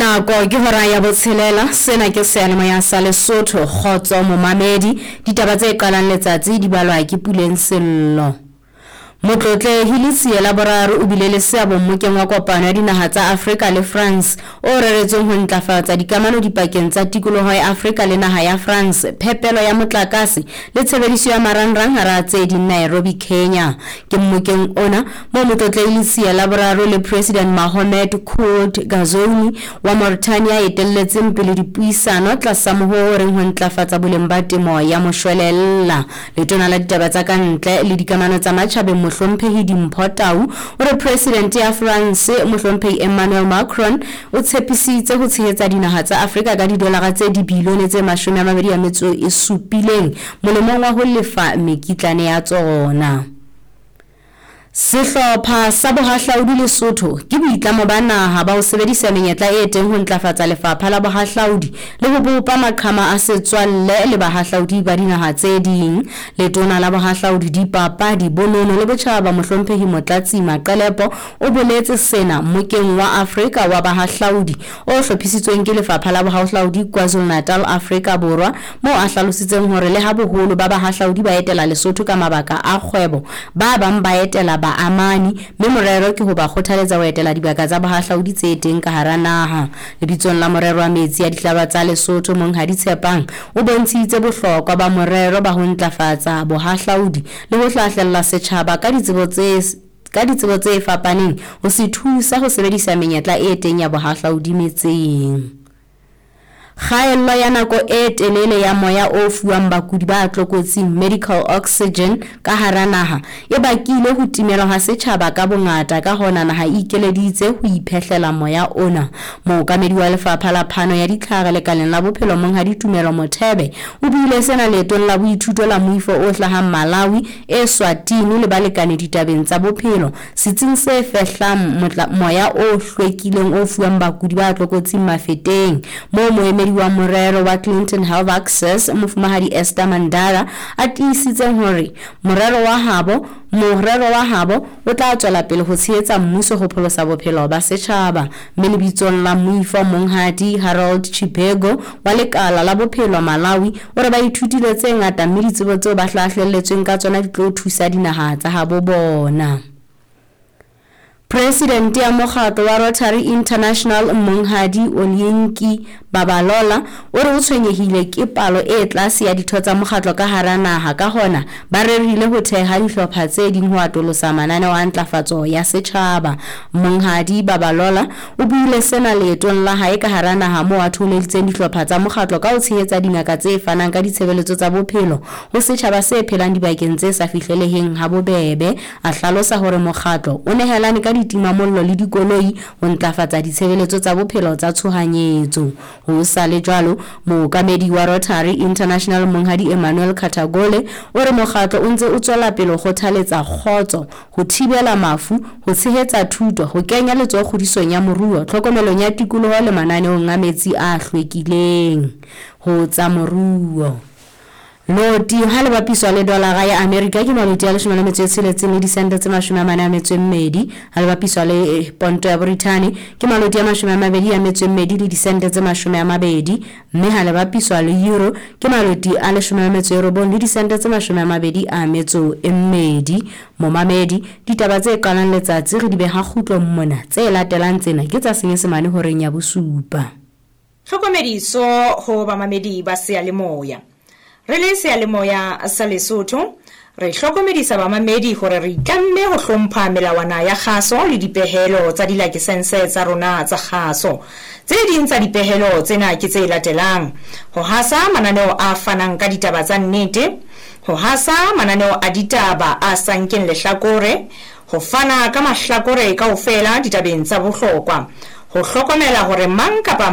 Nako ke hora ya botshelela, sena ke seyalemoya sa Lesotho, kgotso momamedi. Ditaba tse qalang letsatsi di balwa ke Puleng Sello. Motlotlehi Letsie la boraro o bile le seabo mmokeng wa kopano ya dinaha tsa Afrika le France o reretsweng ho ntlafatsa dikamano dipakeng tsa tikoloho ya Afrika le naha ya France, phepelo ya motlakase le tshebediso ya marangrang hara tse ding Nairobi, Kenya. Ke mmokeng ona moo Motlotlehi Letsie la boraro le President Mahomet Kould Ghazouani wa Mauritania a etelletseng pele dipuisano tlasa mohoo o reng ho ntlafatsa boleng ba temo ya moshwelella. Letona la ditaba tsa ka ntle le dikamano tsa matjhabeng Mohlomphehi Dimpho Tau o re President ya France Mohlomphehi Emmanuel Macron o tshepisitse ho tshehetsa dinaha tsa Afrika ka didolara tse dibilione tse 27 molemong wa ho lefa mekitlane ya tsona. Sehlopha sa Bohahlaudi Lesotho ke boitlamo ba naha ba ho sebedisa menyetla e teng ho ntlafatsa lefapha la bohahlaudi le ho bopa maqhama a setswalle le bahahlaudi ba dinaha tse ding. Letona la Bohahlaudi, Dipapadi, Bonono le Botjhaba Mohlomphehi Motlatsi Maqelepo o boletse sena Mmokeng wa Afrika wa Bahahlaudi o hlophisitsweng ke Lefapha la Bohahlaudi KwaZulu-Natal, Afrika Borwa, moo a hlalositseng hore le ha boholo ba bahahlaudi ba etela Lesotho ka mabaka a kgwebo, ba bang ba etela baamani, mme morero ke ho ba kgothaletsa ho etela dibaka tsa bohahlaudi tse teng ka hara naha. Lebitsong la morero wa metsi a dihlaba tsa Lesotho, Monghadi Tshepang o bontshitse bohlokwa ba morero ba ho ntlafatsa bohahlaudi le ho hlahlella setjhaba ka ditsebo tse ka ditsebo tse fapaneng ho se thusa ho sebedisa menyetla e teng ya bohahlaudi metseng. Kgaello ya nako e telele ya moya o fuwang bakudi ba tlokotsing, medical oxygen, ka hara naha e bakile ho timelwa ha setjhaba ka bongata, ka hona naha e ikeleditse ho iphehlela moya ona. Mookamedi wa lefapha la phano ya ditlhare lekaleng la bophelo Monghadi Tumelo Mothebe o buile sena leetong la boithuto la moifo o hlahang Malawi, Eswatini le balekane ditabeng tsa bophelo setsing se fehlang moya o hlwekileng o fuwang bakudi ba tlokotsing Mafeteng, moo moemedi wa morero wa Clinton Health Access Mofumahadi Esther Mandara a tiisitseng hore morero wa habo morero wa habo o tla tswela pele ho tshehetsa mmuso ho pholosa bophelo ba setjhaba. Mme lebitsong la moifo Monghadi Harold Chibego wa lekala la bophelo Malawi o re ba ithutile tse ngata mme ditsebo tseo ba hlahlelletsweng ka tsona di tlo thusa dinaha tsa habo bona. Presidente ya mokgatlo wa Rotary International Monghadi Oluyinka Babalola o re o tshwenyehile ke palo e tlase ya ditho tsa mokgatlo ka hara naha, ka hona ba rerile ho theha dihlopha tse ding ho atolosa mananeo a ntlafatso ya setjhaba. Monghadi Babalola o buile sena leetong la hae ka hara naha moo a thoholeditseng dihlopha tsa mokgatlo ka ho tshehetsa dingaka tse fanang ka ditshebeletso tsa bophelo ho setjhaba se phelang dibakeng tse sa fihleleheng ha bobebe. A hlalosa hore mokgatlo o nehelane ka ditimamollo le dikoloi ho ntlafatsa ditshebeletso tsa bophelo tsa tshohanyetso. Ho sa le jwalo, mookamedi wa Rotary International Monghadi Emmanuel Katagole o re mokgatlo o ntse o tswela pele ho kgothaletsa kgotso, ho thibela mafu, ho tshehetsa thuto, ho kenya letsoho kgodisong ya moruo, tlhokomelong ya tikoloho le mananeong a metsi a hlwekileng. Ho tsa moruo. Loti ha le bapiswa le dolara ya Amerika ke maloti a 16 le disente tse 42, ha le bapiswa le ponto ya Brithani ke maloti a 22 le disente tse 20, mme ha le bapiswa le euro ke maloti a 19 le disente tse 22. Momamedi, ditaba tse qalang letsatsi re di beha kgutlong mona, tse latelang tsena ke tsa Senyesemane horeng ya bosupa. Tlhokomediso ho bamamedi ba seyalemoya. Re le seyalemoya sa Lesotho, re hlokomedisa bamamedi hore re itlamme ho hlompha melawana ya kgaso le dipehelo tsa dilakesense tsa rona tsa kgaso. Tse ding tsa dipehelo tsena ke tse latelang: ho hasa mananeo a fanang ka ditaba tsa nnete, ho hasa mananeo a ditaba a sa nkeng lehlakore, ho fana ka mahlakore kaofela ditabeng tsa bohlokwa, ho hlokomela hore mang kapa